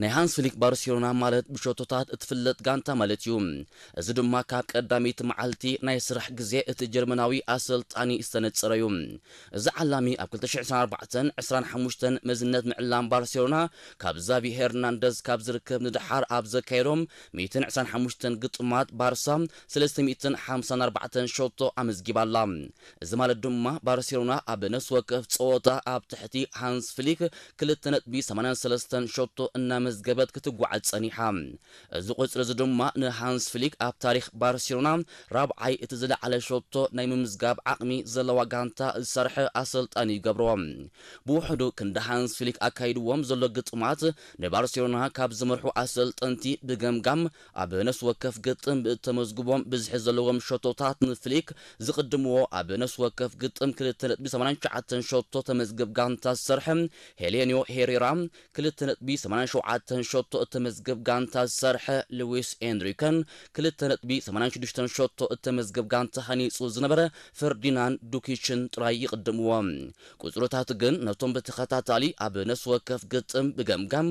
ናይ ሃንስ ፍሊክ ባርሴሎና ማለት ብሸቶታት እትፍለጥ ጋንታ ማለት እዩ። እዚ ድማ ካብ ቀዳመይቲ መዓልቲ ናይ ስራሕ ግዜ እቲ ጀርመናዊ ኣሰልጣኒ ዝተነጸረ እዩ። እዚ ዓላሚ ኣብ ክልተ ሽሕን ዕስራን ኣርባዕተን ዕስራን ሓሙሽተን መዝነት ምዕላም ባርሴሎና ካብ ዛቪ ሄርናንደዝ ካብ ዝርከብ ንደሓር ኣብ ዘካየዶም ሚእትን ዕስራን ሓሙሽተን ግጥማት ባርሳ ሰለስተ ሚእትን ሓምሳን ኣርባዕተን ሸቶ ኣመዝጊባ ኣላ። እዚ ማለት ድማ ባርሴሎና ኣብ ነፍሲ ወከፍ ጸወታ ኣብ ትሕቲ ሃንስ ፍሊክ ክልተ ነጥቢ ሰማንያን ሰለስተን ሸቶ እናመዝገበት ክትጓዓዝ ጸኒሓ። እዚ ቁጽሪ እዚ ድማ ንሃንስ ፍሊክ ኣብ ታሪኽ ባርሴሎና ራብዓይ እቲ ዝለዓለ ሸቶ ናይ ምምዝጋብ ዓቕሚ ዘለዋ ጋንታ ዝሰርሐ ኣሰልጣኒ ይገብሮ። ብውሕዱ ክንዲ ሃንስ ፍሊክ ኣካይድዎም ዘሎ ግጥማት ንባርሴሎና ካብ ዝመርሑ ኣሰልጠንቲ ብገምጋም ኣብ ነፍሲ ወከፍ ግጥም ብእተመዝግቦም ብዝሒ ዘለዎም ሸቶታት ንፍሊክ ዝቕድምዎ ኣብ ነፍሲ ወከፍ ግጥም ክልተ ነጥቢ ሰማንያን ትሽዓተን ሸቶ ተመዝግብ ጋንታ ዝሰርሐ ሄሌንዮ ሄሬራ ክልተ ነጥቢ ሰማንያን ሸውዓተን ሸቶ እተመዝግብ ጋንታ ዝሰርሐ ልዊስ ኤንሪከን ክልተ ነጥቢ ሰማንያን ሽዱሽተን ሸቶ እተመዝግብ ጋንታ ሃኒጹ ዝነበረ ፈርዲናንድ ዱኪችን ጥራይ ይቕድምዎ። ቁጽርታት ግን ነቶም ብተኸታታሊ ኣብ ነፍሲ ወከፍ ግጥም ብገምጋም